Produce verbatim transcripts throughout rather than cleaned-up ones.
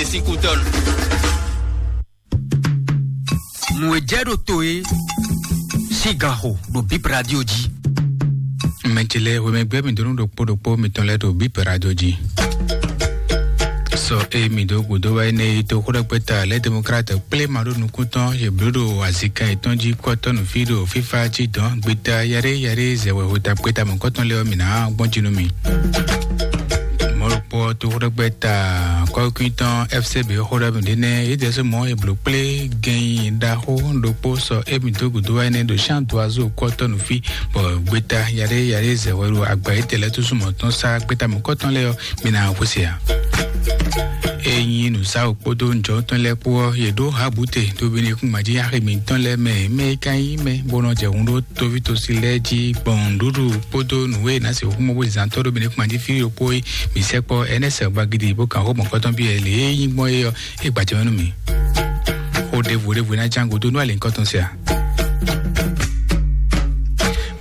Sín kútɔ́nù. Nǔ e jɛ ɖo to é sín ganxo ɖo Bip Radio jí. Mɛ ce lɛ́ɛ, hwemɛgbɛ́ mǐ dó nú ɖokpó ɖokpó mitɔn lɛ́ɛ ɖo Bip Radio jí. Sɔ e mǐ dó gǔdo wá énɛ́ yi tó xó ɖɛkpɛ ta lɛ́ Demokrat kplé ma ɖó nukún tɔn yě bló ɖo azika yětɔn jí kɔ́tɔ́ nǔ fí ɖo fífá jí dɔn gbeta yaɖé yaɖé zɛwɛ hota kpeta mɔ̌kɔtɔn lɛ́ɛ ɔ́ mǐ ná gbɔn jí nú mì. Mɔ̌ ɖokpó tó xó ɖɛkpɛ ta kɔ́kúí tɔn F C B xó ɖɔ mǐ ɖé nɛ́ yě dɛsɛ mɔ̌ è blǒ kplé gɛnyi ɖaxó ɖokpó sɔ émí dó gǔdo wá énɛ́ ɖo Jean Doiseau kɔ́tɔ́ nǔ fí bɔ gbeta yaɖé yaɖé zɛwɛ ɖo agba yětɛn lɛ́ɛ túsú mɔ̌ tɔn sá gbeta mɔ̌kɔtɔn lɛ́ɛ ɔ́, mi ná xwé se ǎ. Ényí nǔsáwǔ kpódó nǔjɔ́tɔn lɛ́ɛ kpó ɔ́, yě ɖó Habute ɖo Benekúngbǎjí axi mǐtɔn lɛ́ɛ mɛ, mɛ e ka nyí mɛ bó nɔ jɛ hun ɖó toví tosi lɛ́ɛ jí gbɔn nǔɖuɖu kpódó nǔ e è nǎ sixú mɔ bó zán tɔ́ ɖó Benekúngbǎjí fí ɖokpó é. Mǐ sɛkpɔ́ Ɛnɛsɛ Gbagidi bó kan xó mɔ̌kɔtɔn byɔ́ ɛ lě e nyí gbɔn é ɔ́, é gbajɛ mɛ nú mǐ. Xó ɖěvo ɖěvo e ná ján gúdo nú alǐnkɔtɔn se ǎ.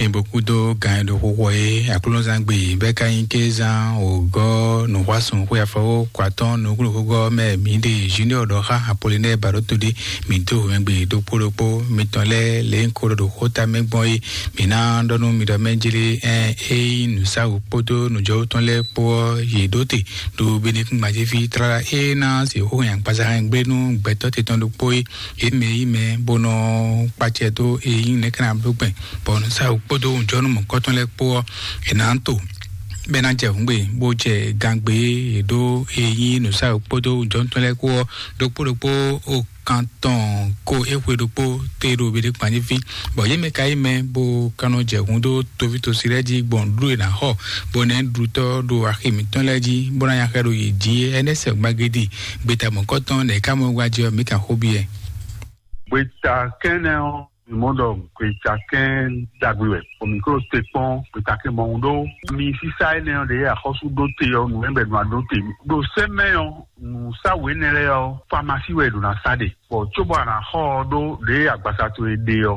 Mi bo kúdó gan e ɖo xixo é Aklúnɔzán gbe bɛ́ ka nyí kézán wǒgɔ́ nǔxwásún xwé afɔwó kɔ atɔ́ɔ́n nukúnnú xógɔ́ mɛ mǐ ɖe Junior ɖɔ xá Apolinɛ́ɛ Baɖóto ɖé. Mǐ dó wɛ̌ngbě ɖokpó ɖokpó mitɔn lɛ́ɛ lě un ko ɖɔ ɖo xóta mɛ gbɔn é. Mǐ ná ɖɔ nú mi ɖɔ mɛ jlé ɛn é nyí nǔsáwǔ kpódó nǔjɔwú tɔn lɛ́ɛ kpó ɔ́, yě ɖó te ɖo Benekúngbǎjíví tlala é ná se xó nyi agbaza hɛn gblé nú gbɛtɔ́ te tɔn ɖokpó é. Yě mɛ yí mɛ bó nɔ kpacɛ dó e nyí nɛ̌ ká ná bló gbɛn, bɔ nǔsáwǔ kpódó nǔjɔnú mɔ̌kɔtɔn lɛ́ɛ kpó ɔ́, è nǎ to bɔ é ná jɛ hǔngbe bó jɛ gangbe e ɖó e nyí nǔsáwǔ kpódó nǔjɔnú tɔn lɛ́ɛ kpó ɔ́, ɖokpó ɖokpó o kan tɔn ko é xwe ɖokpó te ɖo Benekúngbǎjíví. Bɔ yě mɛ ka yí mɛ bó ka nɔ jɛ hǔn dó toví tosi lɛ́ɛ jí gbɔn nǔɖuɖu e è nǎ xɔ bó nɛ́ ɖutɔ́ ɖo axi mǐtɔn lɛ́ɛ jí bó ná nya xɛ ɖo yě jí é. Ɛnɛ́ sɛ gbagédi gbeta mɔ̌kɔtɔn nɛ̌ ká mɔ wá jí ɔ́, mǐ kan xó byɔ́ ɛ. Gbeta kɛ́nɛ ɔ́, mi mɔ ɖɔ gbeta kɛ́n ɖagbe wɛ, bɔ mi klo te kpɔn gbeta kɛ́n mɔhun ɖó mi sísá énɛ́ ɔ́ ɖě axɔ́sú ɖó te ɔ́, nǔ mɛ bɛ nǔ a ɖó te ɖo sɛ́ mɛ ɔ́, nǔsáwǔ énɛ́ lɛ́ɛ ɔ́, famasi wɛ è ɖǒ ná sá ɖe, bɔ cóbɔ a nǎ xɔ ɔ́ ɖó ɖě agbaza towe ɖe ɔ́,